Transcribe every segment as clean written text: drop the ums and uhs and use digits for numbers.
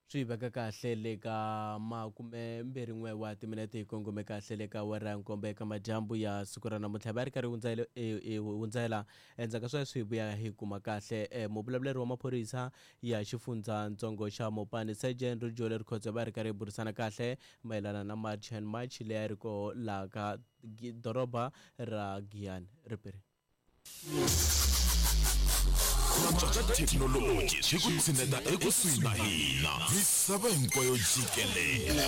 Swi veka kahle le ka makumembirhin'we wa timinete hi kongome kahle le ka awara ya nkombo eka madyambu ya siku ra namuntlha va ri karhi hi hundzela endzhaku ka sweswi hi vuya hi kuma kahle eh, muvulavuleri wa maphorisa ya xifundzatsongo xa mopani sergeant Rujole Rikhotso va ri karhi hi burisana kahle mayelana na March and March leyi a ri koho laha ka doroba ra Giyani ripiri. Ku antswa ka thekinoloji swi ku tshineta ekusuhi na hina misava hinkwayo jikelele.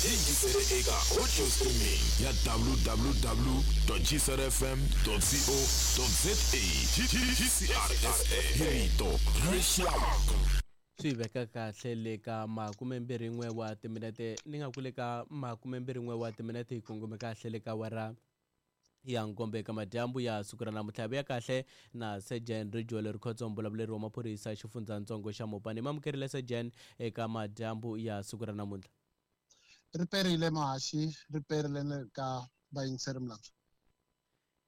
Yingisele eka audio streaming ya www.gcrfm.co.za GCRSA hi rito ra rixaka. Swi veka kahle le ka makumembirhin'we wa timinete ni nga ku le ka makumembirhin'we wa timinete hi kongome kahle le ka awara ya nkombo eka madyambu ya siku ra namuntlha vuya kahle na Sergeant Rijole Rikhotso mbulavuleri wa maphorisa xifundzatsongo xa Mopani mi amukerile Sergeant eka madyambu ya siku ra namuntlha. Ri perile muhaxi ri perile na le ka vayingiseri milandzu.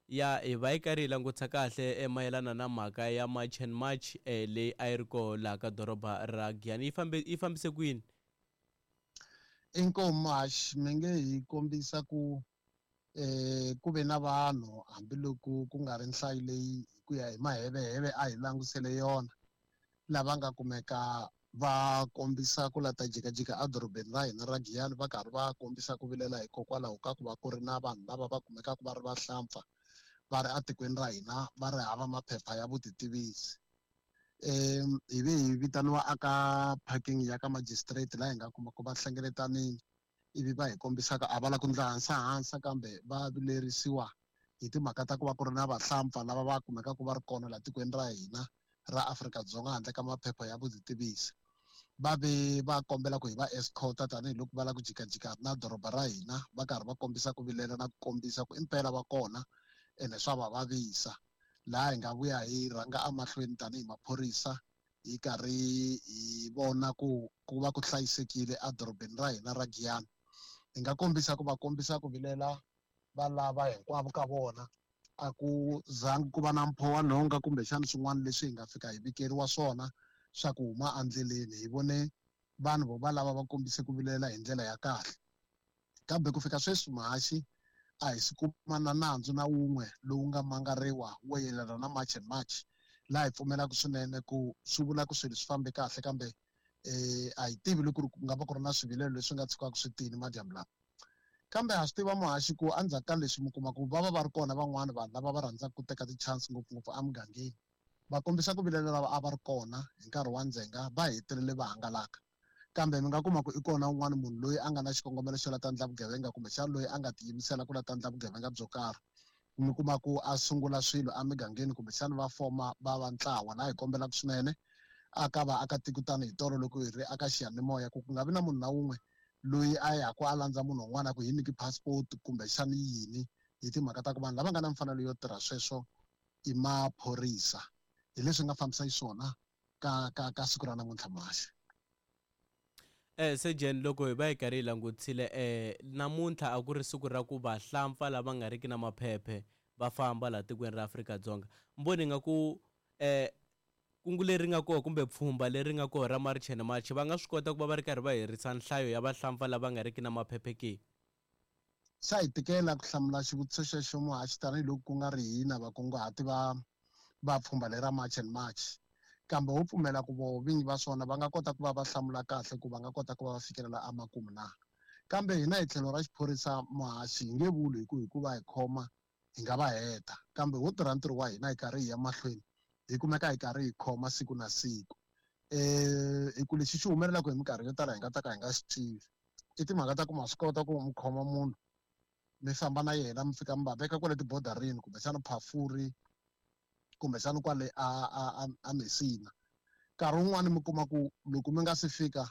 Ya hi va yi karhi hi langutisa kahle eh, mayelana na mhaka ya March and March eh, leyi a yi ri koho laha ka doroba ra Giyani yi fambe yi fambise kwini? Inkomu muhaxi mi nge hi kombisa ku eh ku ve na vanhu hambiloko ku nga ri nhlayo leyi hi ku ya hi maheveheve a hi langusele yona lava nga kumeka va kombisa ku la ta jikajika edorobeni ra hina ra Giyani va karhi va kombisa ku vilela hikokwalaho ka ku va ku ri na vanhu lava va kumekaka va ri vahlampfa va ri etikweni ra hina va ri hava maphepha ya vutitivisi. Hi ve hi vitaniwa aka parking ya ka magistrate laha hi nga kuma ku va hlengeletanile ivi va hi kombisaka a va la ku ndla hansahansa kambe va vilerisiwa hi timhaka ta ku va ku ri na vahlampfa lava va kumekaka va ri kona laha tikweni ra hina ra Afrika-Dzonga handle ka maphepha ya vutitivisi. Va ve va kombela ku hi va escorta tanihiloko va lava ku jikajika na doroba ra hina va karhi va kombisa ku vilela na ku kombisa ku impela va kona ene swa va vavisa. Laha hi nga vuya hi rhanga emahlweni tanihi maphorisa hi karhi hi vona ku ku va ku hlayisekile edorobeni ra hina ra Giyani. Hi nga kombisa ku va kombisa ku vilela va lava hinkwavo ka vona a ku zangi ku va na mpho wa nhonga kumbexana swin'wana leswi hi nga fika hi vikeriwa swona swa ku huma endleleni. Hi vone vanhu vo va lava va kombise ku vilela hi ndlela ya kahle. Kambe ku fika sweswi muhaxi a hi si kuma na nandzu na wun'we lowu nga mangariwa wo yelana na March and March, laha hi pfumelaka swinene ku swi vula ku swilo swi fambe kahle kambe a hi tivi loko ku nga va ku ri na swivilelo leswi nga tshukaka swi tini madyambu lawa. Kambe ha swi tiva muhaxi ku endzhaku ka leswi mi kuma ku va va va ri kona van'wana vanhu lava va rhandzaka ku teka ti-chance ngopfungopfu emugangeni va kombisa ku vilela lava a va ri kona hi nkarhi wa ndzhenga va hetelele va hangalaka. Kambe mi nga kuma ku i kona un'wana munhu loyi a nga na xikongomelo xo la ta ndla vugevenga kumbexana loyi a nga tiyimisela ku la ta ndla vugevenga byo karhi. Mi kuma ku a sungula swilo emigangeni kumbexana va foma va va ntlawa. Laha hi kombelaka swinene aka vaakatiko tanihi tolo loko hi ri aka xiyanimoya ku ku nga vi na munhu na wun'we loyi a yaku a landza munhu un'wana a ku hi nyiki passport kumbexana yini hi timhaka ta ku vanhu lava nga na mfanelo yo tirha sweswo i maphorisa. Hi leswi nga fambisa xiswona ka ka ka siku ra namuntlha Muhaxi. Eh Surgeon loko hi va hi karhi hi langutisile eh namuntlha a ku ri siku ra ku vahlampfa lava nga riki na maphephe va famba laha tikweni ra Afrika-Dzonga mboni nga ku eh kungu leri nga koho kumbe pfhumba leri nga koho ra March and March va nga swi kota ku va va ri karhi va herisa nhlayo ya vahlampfa lava nga riki na maphephe ke? Swa hi tikela ku hlamula xivutiso xexo muhaxi tanihiloko ku nga ri hina vakunguhati va va pfhumba lera March and March. Kambe ho pfumela ku voho vinyi va swona va nga kota ku va va hlamula kahle ku va nga kota ku va va fikelela emakumu na. Kambe hina hi tlhelo ra xiphorisa muhaxi hi nge vuli hi ku hi ku va hi khoma hi nga va heta kambe ho tirha ntirho wa hina hi karhi hi ya mahlweni hi kumeka hi karhi hi khoma siku na siku. Hi ku lexi xi humelelaka hi minkarhi yo tala hi nga ta ka hi nga xi tivi i timhaka ta ku ma swi kota ku mi khoma munhu mi famba na yena mi fika mi va veka kwale tibodarini kumbexana Phafuri kumbexana kwale a a a a Messina nkarhi wun'wani mi kuma ku loko mi nga si fika.